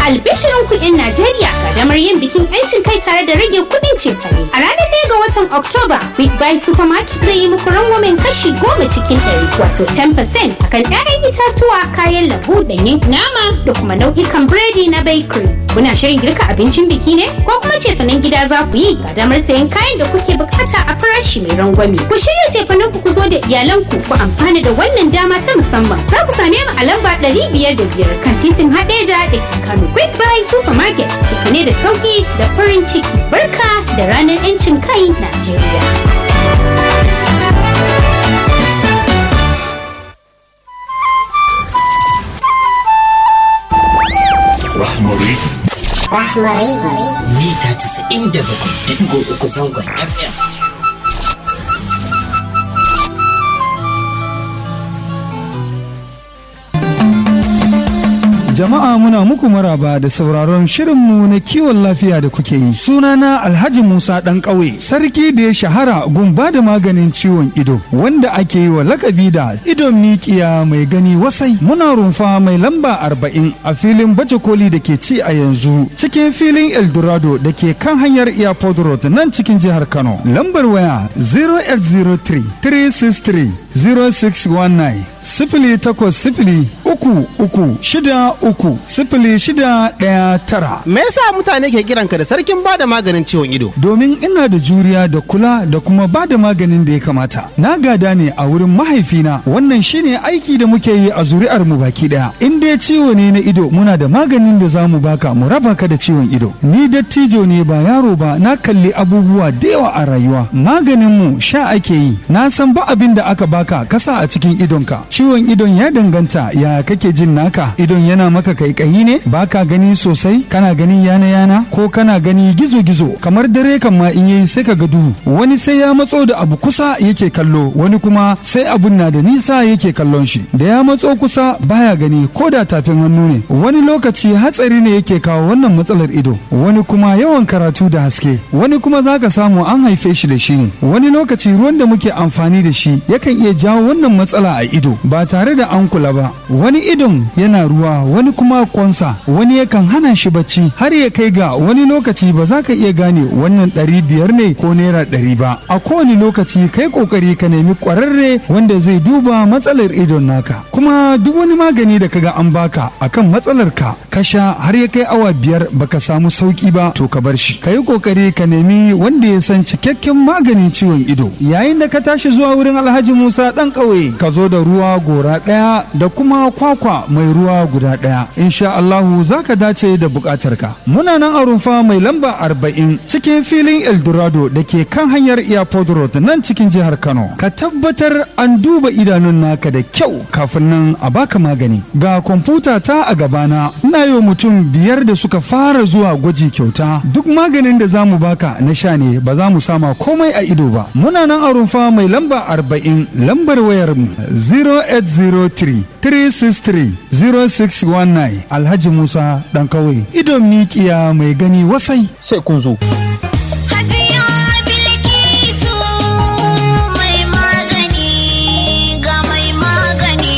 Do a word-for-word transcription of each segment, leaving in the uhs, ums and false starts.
Albishirin ku 'yan Najeriya ga damar yin bikin 'yancin kai tare da rage kuɗin cefane. A ranar ɗaya ga watan Oktoba, Big Buy Supermarket zai yi muku rangwamen kashi goma cikin ɗari, wato kashi goma cikin ɗari akan 'ya'yan itatuwa, kayan lambu, ɗanyen nama da kuma nau'ikan biredi na bakery. Kuna shirin girka abincin biki ne? Ko kuma cefanen gida za ku yi? Ga damar sayan kayan da kuke bukata a farashi mai rangwame. Ku shirya cefanen ku ku zo da iyalanku ku amfana da wannan dama ta musamman. Za ku same mu a lamba ɗari biyar da biyar kan titin Hadeja da ke Kano. Quick Buy Supermarket, cefane da sauki da farin ciki. Barka da ranar 'yancin kai Najeriya. Rahmari. Rahmari. Mita casa'in da bakwai da ɗigo uku zangon F M. Jama'a, muna muku maraba da sauraron shirinmu na kiwon lafiya da kuke yi. Sunana Alhaji Musa ɗan ƙauye, sarki da ya shahara gun ba da maganin ciwon ido, wanda ake yi wa lakabi da idon mikiya mai gani wasai. Muna rumfa mai lamba arba'in a filin baje koli da ke ci a yanzu, cikin filin Eldorado da ke kan hanyar Airport Road nan cikin jihar Kano. Lambar waya sifili takwas sifili uku uku shida uku sifili shida ɗaya tara, sifili takwas sifili uku uku shida uku sifili shida ɗaya tara. Me yasa mutane ke kiranka da sarkin bada maganin ciwon ido? Domin ina da juriya da kula da kuma ba da maganin da ya kamata. Na gada ne a wurin mahaifina, wannan shine aiki da muke yi a zuri'ar mu baki daya. In dai ciwo ne na ido, muna da maganin da za mu baka mu raba ka da ciwon ido. Ni dattijo ne ba yaro ba, na kalli abubuwa da yawa a rayuwa. Maganin mu sha ake yi. Na san ba abin da aka baka kasa a cikin idonka. Ciwon idon ya danganta ya kake jin naka. Idon yana maka kaikayi ne? Baka gani sosai? Kana gani yana yana? Ko kana gani gizo gizo? Kamar dare kan ma in yayi sai ka ga duhu. Wani sai ya matso da abu kusa yake kallo, wani kuma sai abun na da nisa yake kallon shi. Da ya matso kusa baya gani ko da tafin hannu ne. Wani lokaci hatsari ne yake kawo wannan matsalar ido. Wani kuma yawan karatu da haske. Wani kuma zaka samu an haife shi da shi ne. Wani lokaci ruwan da muke amfani da shi yakan iya jawo wannan matsala a ido ba tare da an kula ba. Wani idon yana ruwa, wani kuma kwansa, wani yakan hana shi bacci har ya kai ga wani lokaci ba za ka iya gane wannan ɗari biyar ne ko naira ɗari ba. A kowane lokaci kai kokari ka nemi ƙwararre wanda zai duba matsalar idon naka. Kuma duk wani magani da kaga an baka akan matsalar ka, ka sha har ya kai awa biyar baka samu sauki ba, to ka bar shi. Ka yi kokari ka nemi wanda ya san cikakken maganin ciwon ido. Yayin da ka tashi zuwa wurin Alhaji Musa ɗan ƙauye, ka zo da ruwa gora ɗaya da kuma kwakwa mai ruwa guda ɗaya. Insha Allahu za ka dace da buƙatarka. Muna nan a rumfa mai lamba arba'in cikin filin Eldorado da ke kan hanyar Airport Road nan cikin jihar Kano. Ka tabbatar an duba idanun naka da kyau kafin nan a baka magani. Ga kwamfuta ta a gabana, ina yi mutum biyar da suka fara zuwa gwaji kyauta. Duk maganin da za mu baka na sha ne, ba za mu sama komai a ido ba. Muna nan a rumfa mai lamba arba'in, lambar wayar mu sifili takwas sifili uku uku shida uku sifili shida ɗaya tara. Alhaji Musa ɗan kawai. Idon mikiya mai gani wasai. Sai kun zo. Hajiya Bilkisu mai magani ga mai magani.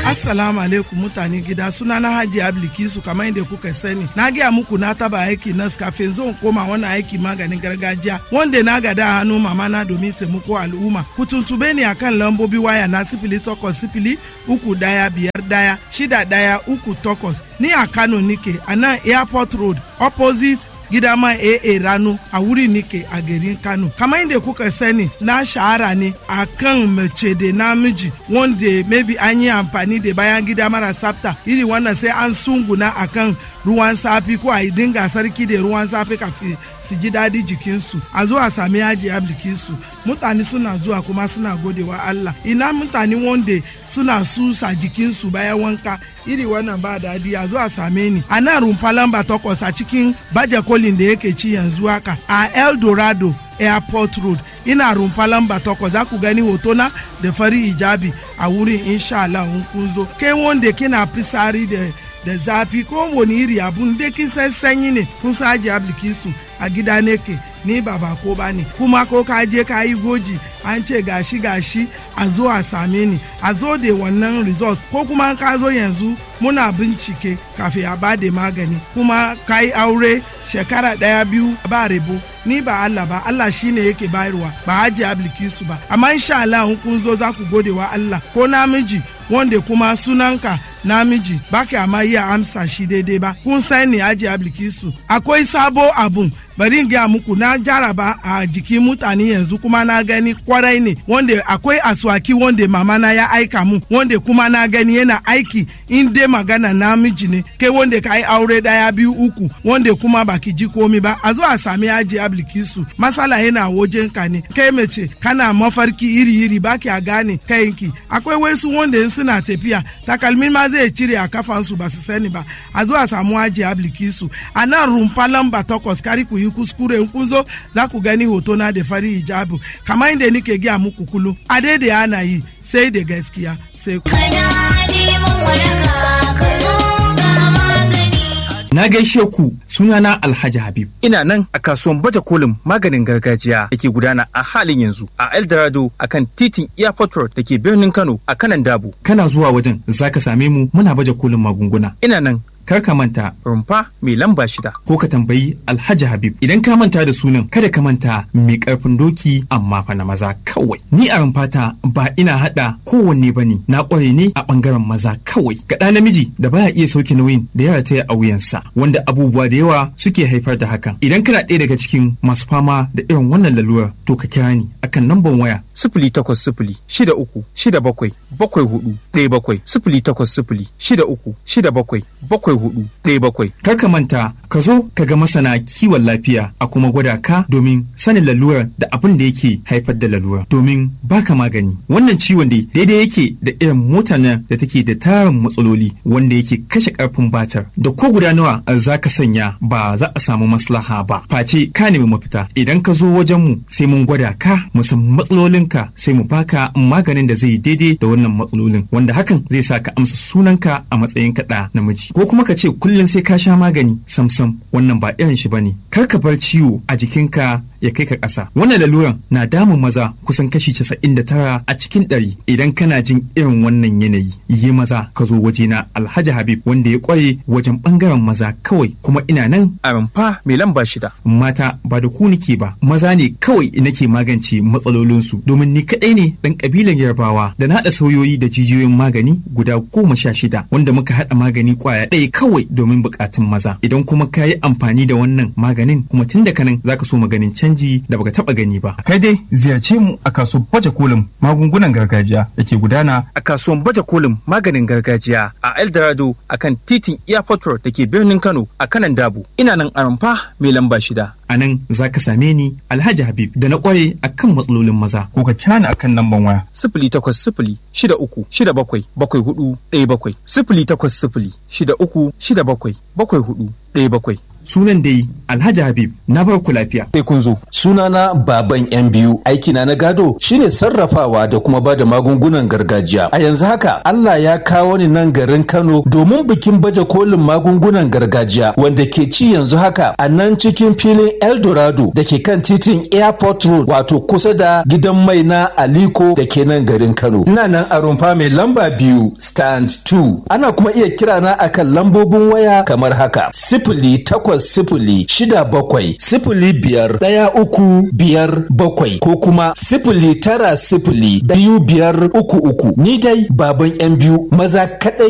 Assalamu alaikum mutane gida, suna na Hajiya Bilkisu. Kamar yadda kuka sani, na gaya muku na taba aiki nas kafin zan koma wannan aiki maganin gargajiya wanda na gada a hannu mama na domin taimako al'umma. Ku tuntube ni akan lambobi waya na sifili takwas sifili uku daya biyar daya shida daya uku takwas. Ni a Kano nike a nan Airport Road, opposite Gidama A A Rano, a wuri nike a garin Kano. Kamar yadda kuka sani, na shahara ne a kan mace da namiji wanda maybe an yi amfani da bayan gida mara tsafta, iri wannan sai an sunguna akan ruwan safi ko a dinga sarki da ruwan safi kafin su ji daɗi jikinsu. A zo a sami Hajiya Bilkisu. Mutane suna zuwa kuma suna godewa Allah. Ina mutane wanda suna susa jikinsu bayan wanka, iri wannan ba daɗi, a zo a same ni a nan rumfa lamba takwas a cikin baje kolin da yake ci yanzu haka a Eldorado Airport Road. Ina rumfa lamba takwas, za ku gani hotona da fari hijabi a wurin, insha Allah in kun zo. Kai wanda kina fisari da da zafi ko wani iri abun da kin san sanyi ne kun san Hajiya Bilkisu a gida nake ni ba bako ba ne kuma ko ka je ka yi goji an ce gashi gashi a zo a same ni a zo da wannan result ko kuma ka zo yanzu muna bincike kafin a bada magani kuma ka yi aure shekara ɗaya biyu ba rebo ni ba Allah ba Allah shine yake bayarwa ba Hajiya Bilkisu ba amma insha Allah in kun zo za ku gode wa Allah ko namiji wanda kuma sunanka namiji baka amma iya amsa shi daidai ba kun sani Hajiya Bilkisu akwai sabo abun bari in gaya muku na jaraba a jikin mutane yanzu kuma na gani kwarai ne wanda akwai aswaki wanda mama na ya aika mu wanda kuma na gani yana aiki in dai magana namiji ne kai wanda ka yi aure daya biyu uku wanda kuma baki ji komi ba a zo a sami Hajiya Bilkisu masala yana wajen ka ne kai mace kana mafarki iri iri baki a gane kayanki akwai wasu wanda in suna tafiya takalmin ma zai cire a kafansu ba su sani ba a zo a samu Hajiya Bilkisu a nan rumfa lamba takwas kari ku yi kuskure in kun zo za ku gani hoto na da fari hijabu kamar inda nike gaya muku kullum a daidai ana yi sai da gaskiya sai ku. Kana neman waraka ka zo ga magani. Na gaishe ku sunana Alhaji Habib. Ina nan a kasuwan baje kolin maganin gargajiya da ke gudana a halin yanzu a Eldorado a kan titin Airport Road da ke birnin Kano a kanan Dabo. Kana zuwa wajen zaka same mu muna baje kolin magunguna. Ina nan kar ka manta rumfa mai lamba shida. Ko ka tambayi Alhaji Habib. Idan ka manta da sunan kada ka manta mai karfin doki amma fa na maza kawai. Ni a rumfata ba ina hada kowanne bane na kware ne a bangaren maza kawai. Ga ɗa namiji da baya iya sauke nauyin da ya rataya a wuyansa wanda abubuwa da yawa suke haifar da hakan. Idan kana ɗaya daga cikin masu fama da irin wannan lalurar to ka kira ni akan namban waya Sifili takwas sifili shida uku shida bakwai bakwai hudu ɗaya bakwai sifili takwas sifili shida uku shida bakwai bakwai hudu ɗaya bakwai. Kar ka manta ka zo ka ga masana kiwon lafiya a kuma gwada ka domin sanin lalurar da abin da yake haifar da lalurar domin baka magani. Wannan ciwon dai daidai yake da irin motar nan da take da tarin matsaloli wanda yake kashe karfin batar da ko guda nawa za ka sanya ba za a samu maslaha ba. Face ka nemi mafita idan ka zo wajen mu sai mun gwada ka mu san matsalolinka sai mu baka maganin da zai daidai da wannan matsalolin wanda hakan zai sa ka amsa sunanka a matsayin kaɗa namiji ko kuma ka ce kullum sai ka sha magani samsam wannan ba irin shi bane kar ka bar ciwo a jikinka ya kai ka ƙasa wannan laluran na damun maza kusan kashi casa'in da tara a cikin ɗari idan kana jin irin wannan yanayi yi maza ka zo wajena Alhaji Habib wanda ya ƙware wajen ɓangaren maza kawai kuma ina nan A rumfa mai lamba shida. mata ba da ku nake ba maza ne kawai nake magance matsalolinsu domin ni kaɗai ne ɗan ƙabilan yarbawa da na haɗa sauyoyi da jijiyoyin magani guda goma sha shida wanda muka haɗa magani ƙwaya ɗaya kawai domin buƙatun maza idan kuma ka yi amfani da wannan maganin kuma tun da kanan zaka so maganin canji da baka taɓa gani ba Kai dai ziyarce mu a kasuwar baje kolin magungunan gargajiya da ke gudana a kasuwan baje kolin maganin gargajiya a Eldorado a kan titin Airport Road da ke birnin Kano a kanan Dabo. Ina nan a rumfa mai lamba shida. a nan za ka same ni Alhaji Habib da na ƙware akan matsalolin maza Ko ka kira ni akan namban waya sifili takwas sifili shida uku shida bakwai bakwai hudu ɗaya bakwai sifili takwas sifili shida uku shida bakwai bakwai hudu ɗaya bakwai. sunan dai Alhaji Habib na bar ku lafiya Sai kun zo. Sunana Baban yan biyu aikina na gado shine sarrafawa da kuma bada magungunan gargajiya. A yanzu haka Allah ya kawo ni nan garin Kano domin bikin baje kolin magungunan gargajiya wanda ke ci yanzu haka a nan cikin filin Eldorado da ke kan titin Airport Road wato kusa da gidan mai na Aliko da ke nan garin Kano. Ina nan a rumfa mai lamba biyu stand two. Ana kuma iya kirana akan lambobin waya kamar haka sifili takwas sifili shida bakwai sifili biyar ɗaya uku biyar bakwai ko kuma sifili tara sifili biyu biyar uku uku. Ni dai baban yan biyu maza kaɗai